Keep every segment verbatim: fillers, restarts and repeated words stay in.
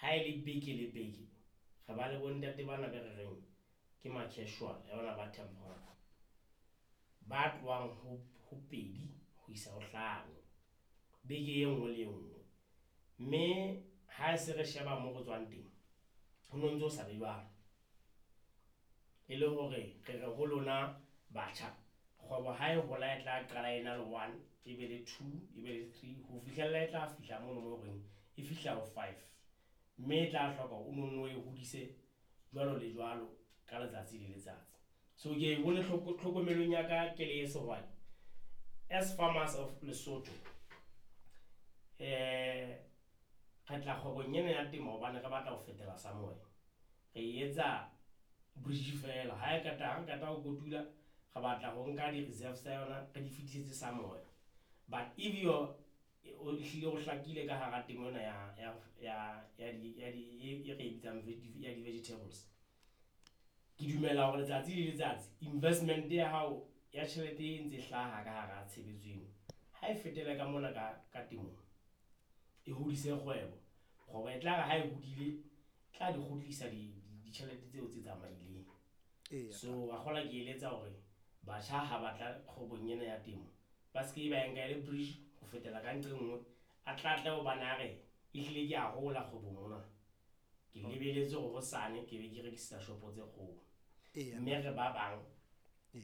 Ha e le beke le beke re ba le bontate bana be re reng ke ma-casual ya bona ba temporary, ba tlohang ho, ho pedi ho isa ho hlano beke e nngwe le e nngwe. Mme ha se re sheba mo re tswang teng, ho no ntso sa be jwalo. E le hore re re ho lona batjha, kgwebo ha e hola e tla qala e na le one, e be le two, e be le three ho fihlella e tla fihla mono mo horeng e fihla ho five. Mme e tla hloka o nonno o e hodise jwalo le jwalo ka letsatsi le letsatsi. So ke bone tlhokomelong ya ka ke le sehwai, as farmers of Lesotho, re tla kgwebong ena ya temo hobane re batla ho fetela somewhere. Re e etsa bridge feela ha e qeta, ha re qeta ho kotula, re batla ho nka di-reserves tsa yona re di fetisetse somewhere. But if you're o hlile o hlakile ka hara temo ena ya ya ya ya di ya di e re e bitsang ya di-vegetables. Ke dumela hore letsatsi le letsatsi investment ya hao ya tjhelete e ntse hlaha ka hara tshebetso eno, ha e fetele ka mona ka ka temong e hodise kgwebo. Kgwebo e tla re ha e hodile tla di kgutlisa di ditjhelete tseo tse tsamaileng. So wa kgolwa ke eletsa hore batjha ha batla kgwebong ena ya temo, ba ske ba e nka e le bridge ho fetela ka nqe nngwe. A tla tle hobane a re ehlile ke a hola kgwebong mona, ke lebeletse hore hosane ke be ke rekisetsa shopo tse kgolo. Mme re ba bang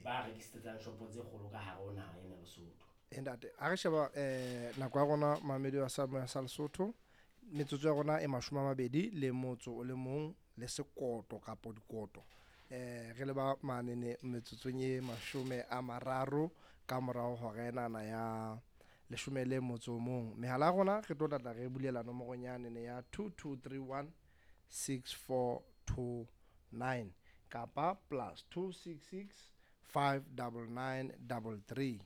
ba rekisetsang shopo tse kgolo ka hare ho naha ena ya Lesotho. Ntate, ha re sheba eh nako ya rona mamedi wa sa sa Lesotho, metsotso ya rona e mashome a mabedi le motso o le mong le sekoto kapo dikoto. Eh re le ba manene metsotsong e mashome a mararo ka morao hora enana ya leshome le motso o mong. Mehala ya rona re tlo tlatla re bulela nomorong yanene ya two two three one six four two nine kapa plus two six six five double nine double three.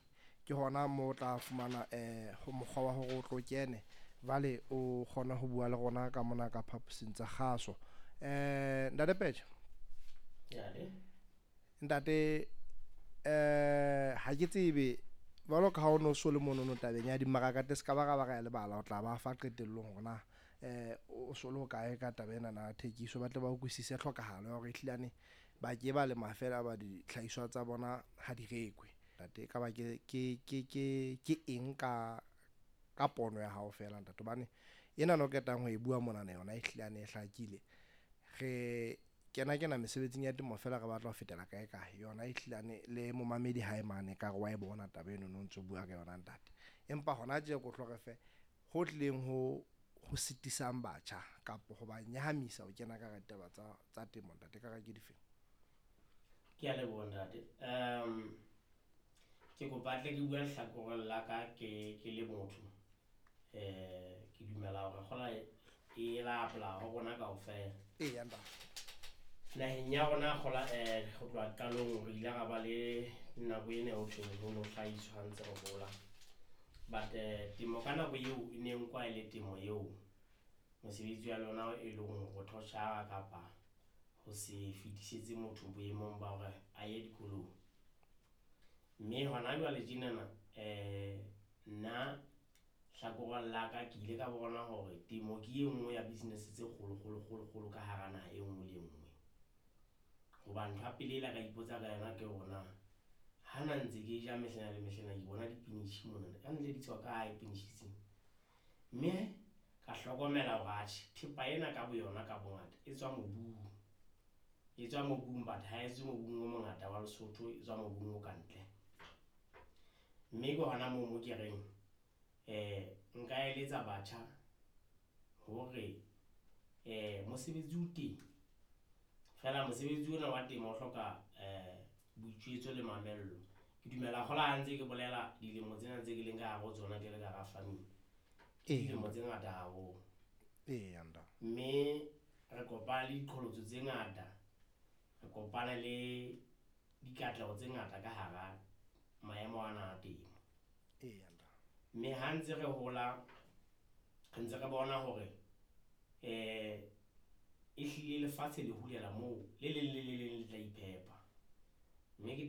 Ke hona mo o tla fumana eh mokgwa wa hore o tlo kene jwale o kgona ho bua le rona ka mona ka phaposing tsa kgaso. Eh ntate Peche, ntate eh ha ke tsebe jwalo ka ha o no so le monono tabeng ya dimmaraka te ska ba ra ba ra lebala o tla ba fa qetellong hore na eh o so le hokae ka taba ena na thekiso, ba tle ba utlwisise tlhokahalo ya hore ehlilane ba ke ba lema feela ba dihlahiswa tsa bona ha di rekwe. Ntate, ka ba ke ke ke ke ke eng ka ka pono ya hao feela ntate, hobane ena no qetang ho e bua monana yona ehlilane e hlakile. Re kena kena mesebetsing ya temo feela re batla ho fetela kae kae, yona ehlilane le momamedi hae mane ka re wa e bona taba eno no ntso bua ka yona ntate. Empa hona tje ko tlo re fe ho tlileng ho ho sitisang batjha kapa ho ba nyahamisa ho kena ka hara ditaba tsa tsa temo ntate, ka re ke difeng? Ke a leboha ntate. Um ke kopa tle ke bua lehlakoreng la ka ke ke le motho. Eh ke dumela hore kgola e la apply ho rona kaofela. Eya ntate. Naheng ya rona kgola eh ho tloha qalong re ile ra ba le nako ena ho thweng ho no hlahiswa ha ntse re hola. But temo ka nako eo e ne nkwa e le temo eo mosebetsi wa lona e leng ho thotjhara kapa ho se fetisetse motho boemong ba hore a ye dikolong. Mme hona jwale tjenana eh nna hlakoreng la ka ke ile ka bona hore temo ke e nngwe ya business tse kgolo kgolo kgolo kgolo ka hara naha e nngwe le e nngwe. Hoba ntho ya pele e la ka ipotsa ka yona ke hore na ha na ntse ke ja mehlena le mehlena ke bona dipinatjhe mona, kantle di tswa kae pinatjhe tsena? Mme ka hlokomela hore atjhe thepa ena ka boyona ka bongata e tswa mobung. E tswa mobung but ha e tswe mobung o mongata wa Lesotho, e tswa mobung o kantle. Mme ke hona moo mo ke reng eh nka eletsa batjha hore eh mosebetsi o teng, feela mosebetsi ona wa temo o hloka eh boitjwetso le mamello. Ke dumela kgola ha ntse ke bolela dilemo tsena tse ke leng ka hare ho tsona ke le ka hara farming, ke dilemo tse ngata haholo. Eya ntate. Mme re kopana le diqholotso tse ngata, re kopana le dikatleho tse ngata ka hara maemo ana a temo. Eya ntate. Mme ha ntse re hola re ntse re bona hore eh ehlile lefatshe le hulela moo le leng le le leng le tla iphepa. Mme ke